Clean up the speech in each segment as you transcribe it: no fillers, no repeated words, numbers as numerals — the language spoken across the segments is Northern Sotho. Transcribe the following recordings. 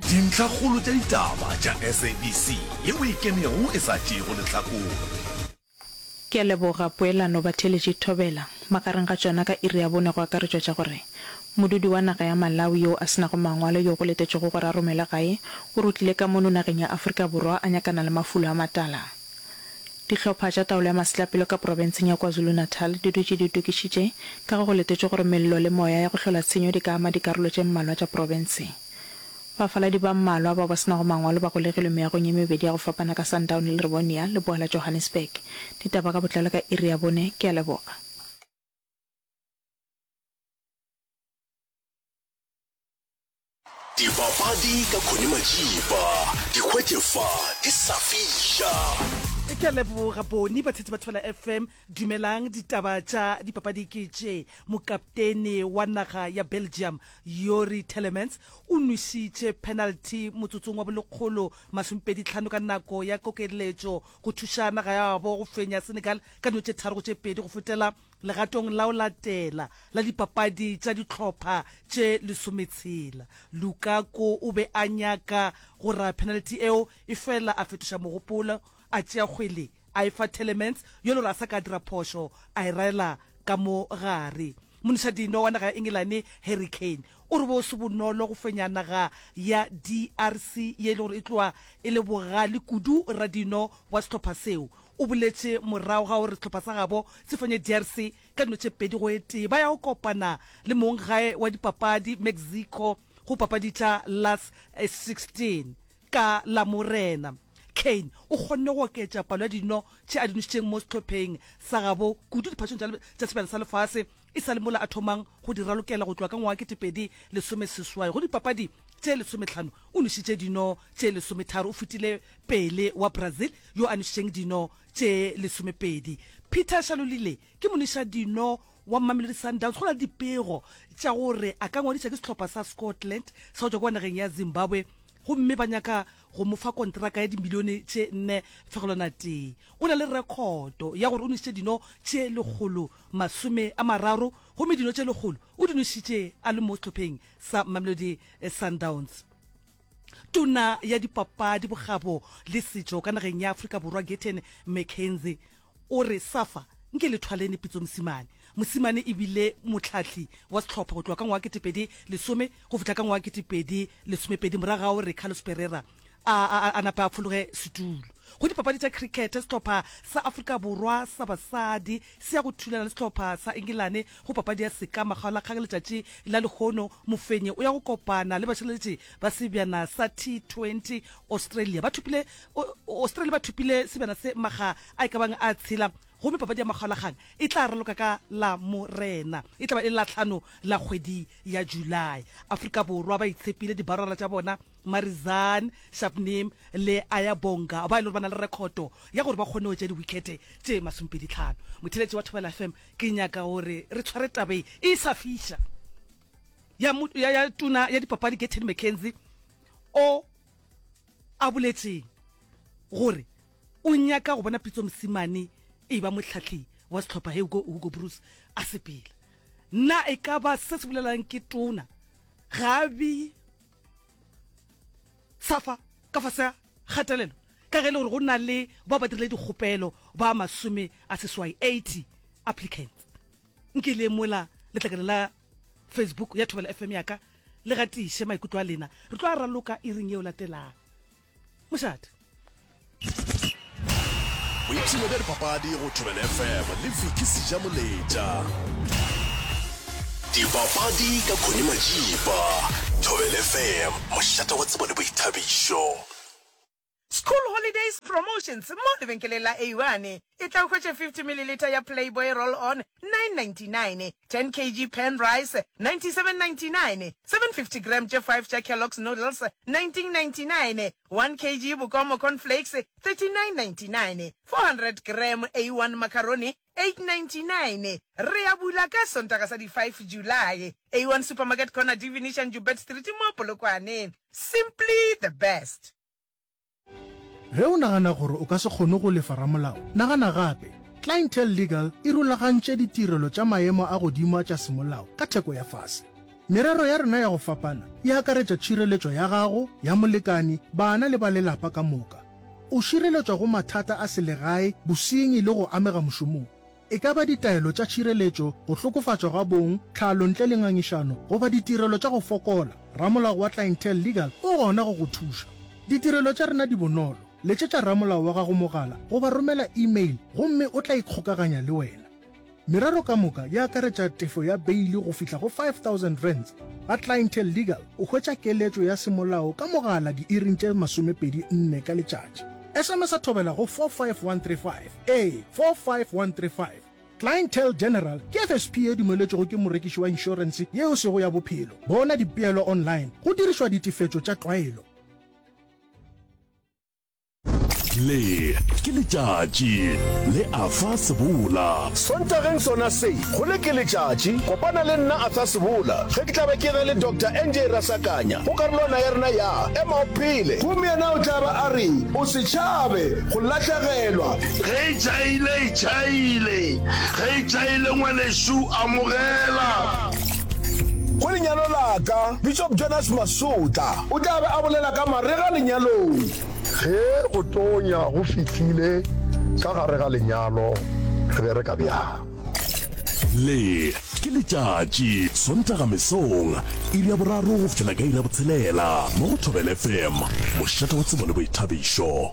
Dintlhakgolo tša ditaba tša SABC yeo e kenego e sa tšeego lehlakore. Ke a leboga poelano batheeletši Thobela. Magareng ga tšona ka iri ya bone go akaretšwa tša gore modudi wa naga ya Malawi yo a se nago mangwalo yo go letetšwego gore a romelwe gae o rutlile ka mono nageng ya Afrika Borwa a nyakana le mafulo a matala. Dihlopha tša taolo ya masetlapelo ka profenseng ya KwaZulu-Natal di dutše di itokišitše ka ge go letetšwe gore mello le moya ya go hlola tshenyo di ka ama dikarolo tše mmalwa tša profense. Bafaladi ba mmalwa bao ba se nago mangwalo ba golegilwe meagong ye mebedi ya go fapana ka Sandown le Rivonia, leboa la Johannesburg. Ditaba ka botlalo ka iri ya bone. Ke a leboga. Dipapadi ka Connie Majiba, di hwetše fa di sa fiša. Ke a leboga Boni, batheetši ba Thobela FM. Dumelang, ditaba tša dipapadi ke tše. Mokaptene wa naga ya Belgium, Youri Tielemans, o nwešitše penalty motsotsong wa bolekgolo masomepedi tlhano ka nako ya kokeletšo go thuša naga ya gabo go fenya Senegal ka dino tše tharo go tše pedi go fetela Legatong la go latela la dipapadi tša dihlopha tše lesometshela, Lukaku o be a nyaka go ra penalty eo, efela a fetoša mogopolo, a tšea kgwele a e fa Tielemans yo le gore a sa ka a dira phošo, a e raela ka mo gare. Monišadino wa naga ya Engelane Harry Kane o re bo se bonolo go fenya naga ya DRC ye e le gore e tloga e le bogale kudu. Radino wa sehlopha seo O boletše morago ga gore sehlopha sa gabo se fenye DRC ka dino tše pedi go e tee. Ba ya go kopana le monggae wa dipapadi Mexico go papadi tša Last 16 ka Lamorena. Kane o kgonne go oketša palo ya dino tše a di nošitšeng mo sehlopheng sa gabo kudu diphatšong tša Sebjana sa Lefase e sa le mola a thomang go di ralokela go tloga ka ngwaga 2018. Go dipapadi tše lesometlhano o nošitše dino tše lesometharo, o fetile Pele wa Brazil yo a nošitšeng dino tše lesomepedi. Peter Shalulile ke monwešadino wa Mamelodi Sundowns. Go na le dipego tša gore a ka ngwadiša ke sehlopha sa Scotland sa go tšwa kua nageng ya Zimbabwe gomme ba nyaka go mo fa kontraka ya dimilione tše nne fegelwana tee. O na le rekhoto ya gore o nwešitše dino tše 130 gomme dino tše lekgolo o di nwešitše a le mo sehlopheng sa Mamelodi Sundowns. Tona ya Dipapadi, Bokgabo le Setšo ka nageng ya Afrika Borwa Gayton McKenzie o re SAFA nke le thwalene Pitso Mosimane. Mosimane e bile mohlahli wa sehlopha go tloga ka ngwaga 2010 go fihla ka ngwaga 2012 morago ga gore Carlos Pereira a, a, a nape a fologe setulo. Go dipapadi tša cricket, sehlopha sa Afrika Borwa sa basadi se ya go thulana le sehlopha sa Engelane go papadi ya seka makgaolakgang letšatši la lehono. Mofenyi o ya go kopana le bašireletši ba sebjana sa T20 Australia. Ba thopile Australia ba thopile sebjana se makga a e ka bang a tshela gomme papadi ya makgaolakgang e tla raloka ka Lamorena. E tla ba e le Lahlano la kgwedi ya July. Afrika Borwa ba itshepile dibarara tša bona Marizanne Shabnim le Ayabonga ba e le gore ba na le rekhoto ya gore ba kgone go tšea diwikhete tše masomepeditlhano. Motheeletši wa Thobela FM, ke nyaka gore re tshware taba e e sa fiša ya, ya, ya tona ya dipapadi Gayton McKenzie o a boletšeng gore o nyaka go bona Pitso Mosimane e ba mohlahli wa sehlopha he Hugo, Hugo Broos a sepela. Na e ka ba se se bolelang ke tona ga a bee Safa ka fase ga kgatelelo ka ge e le gore go na le bao ba dirile dikgopelo ba masome a seswai, 80 applicants. Nke le mola letlakala la Facebook ya Thobela FM ya ka le gatiše maikutlo a lena. Re tlo a raloka iring yeo latelang. Mošate. Boipshino bja dipapadi go Thobela FM le Vicky Sejamoletša. Dipapadi ka Connie Majiba. Thobela FM, mošate wa tsebo le boithabišo. School Holidays Promotions mo lebenkeleng la A1. Etla o hwetše 50 mililitha ya Playboy Roll On, 9.99, 10 kg Pan Rice, 97.99, 750 gram tše 5 tša Kellogg's Noodles, 19.99, 1 kg Bokomo Corn Flakes, 39.99, 400 gram A1 Macaroni, 8.99. Re a bula ka Sontaga sa di 5 July. A1 Supermarket Corner D Venetian Joubert Street mo Polokwane. Simply the best. Ge o nagana gore o ka se kgone go lefa ramolao, nagana gape. Clientele Legal e rulagantše ditirelo tša maemo a godimo tša semolao ka theko ya fase. Merero ya rena ya go fapana e akaretša tšhireletšo ya gago, ya molekani, bana le ba lelapa ka moka. O šireletšwa go mathata a selegae, bosenyi le go amega mošomong. E ka ba ditaelo tša tšhireletšo, go hlokofatšwa ga bong, tlhalo ntle le ngangišano, goba ditirelo tša go fokola, ramolao wa Clientele Legal o gona go go thuša. Ditirelo tša rena di bonolo. Letšetša ramolao wa gago mogala goba romela email gomme o tla ikgokaganya le wena. Merero ka moka e akaretša tefo ya beili go fihla go R5000. Ga Clientele Legal o hwetša keletšo ya semolao ka mogala diiring tše 24 ka letšatši. SMS-a thobela go 45135. Ee, 45135. Clientele General ke FSP ye dumeletšwego ke morekiši wa inšorense yeo e sego ya bophelo. Bona dipeelo online go dirišwa ditefetšo tša tlwaelo. Le ke letšatši le Arthur Sebola. Sontageng sona se, go le ke letšatši, kopana le nna Arthur Sebola ge ke tla be ke na le Doctor NJ Rasakanya go karolwana ya rena ya Ema o Phele. Gomme yena o tla ba a re, O se tšhabe go lahlegelwa. Ge e tšhaile, e tšhaile. Ge e tšhaile, ngwanešu, amogela. Go lenyalo la ka, Bishop Jonas Masotla o tla be a bolela ka marega lenyalong. Ge go tonya go fihlile ka gare ga lenyalo, re bereka bjang? Le ke letšatši, Sontaga mesong, iri ya boraro go fihlela ka iri ya botshelela, mo go Thobela FM, mošate wa tsebo le boithabišo.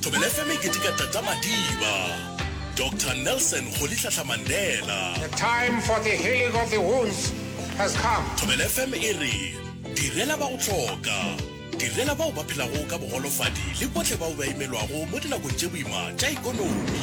Thobela FM e keteka Tata Madiba, Doctor Nelson Rolihlahla Mandela. The time for the healing of the wounds has come. Thobela FM e re, Direla ba go hloka, direla bao ba phelago ka bogolofadi le bohle bao ba imelwago mo dinakong tše boima tša ekonomi.